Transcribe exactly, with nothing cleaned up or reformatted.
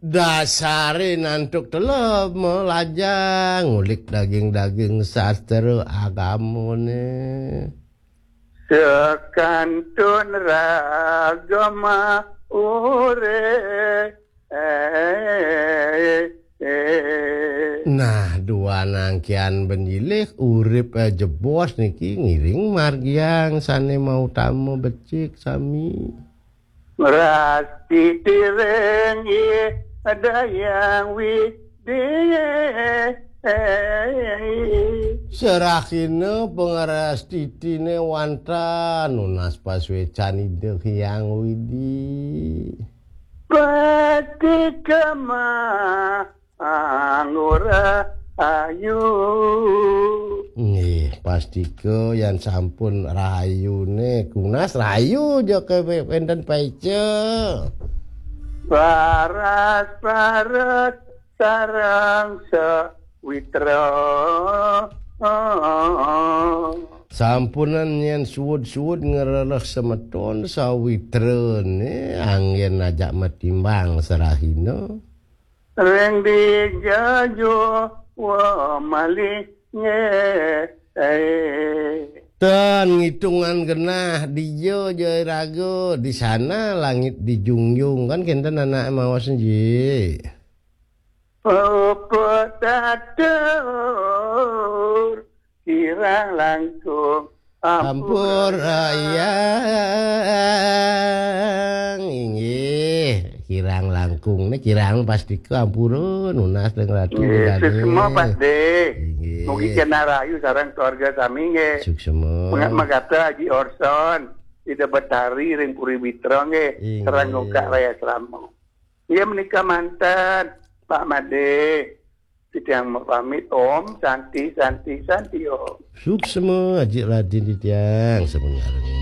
Dasare nantuk telep melajang ngulik daging-daging sastra agamane. Sekantun ragama ure. Nah, dua nangkian benjilih urip, eh, jebos niki ngiring margiang sane mautama becik sami. Rasti tireng dayang widi. Serahina pangrastitine wanta nunas pasuecan Ida Hyang Widi. Pati kama angura ayu. Nggih, pastika yan sampun rahayune kunas rahayu ja ke wenten paica. Paras-paras sareng sawitra. Sampunan yen suud-suud ngrereh semeton sawitrane anggen ajak matimbang serahina. Ring dija jua malih nggih. Ten ngitungan genah dija jai raga, di sana langit dijunjung, kan kenten anak mawas nji. Pepetatur kirang langkung ampur. Ampur ayang, inggih, kirang langkung ne kirang pastika ampura nunas ring ratu. Nggih, Ida ne. Suksma, Pak De. Inggih. Mugi kena rahayu sareng keluarga sami nggih. Suksma. Mengak magatra Haji Orson, Ida Betari ring Puri Mitra nggih, inggih, sareng Gongkak Raya Selama. Inggih menika manten, Pak Made. Titiang mapamit, Om Santi, Santi, Santi, Om. Suksma, Haji Radin titiang, semengareng.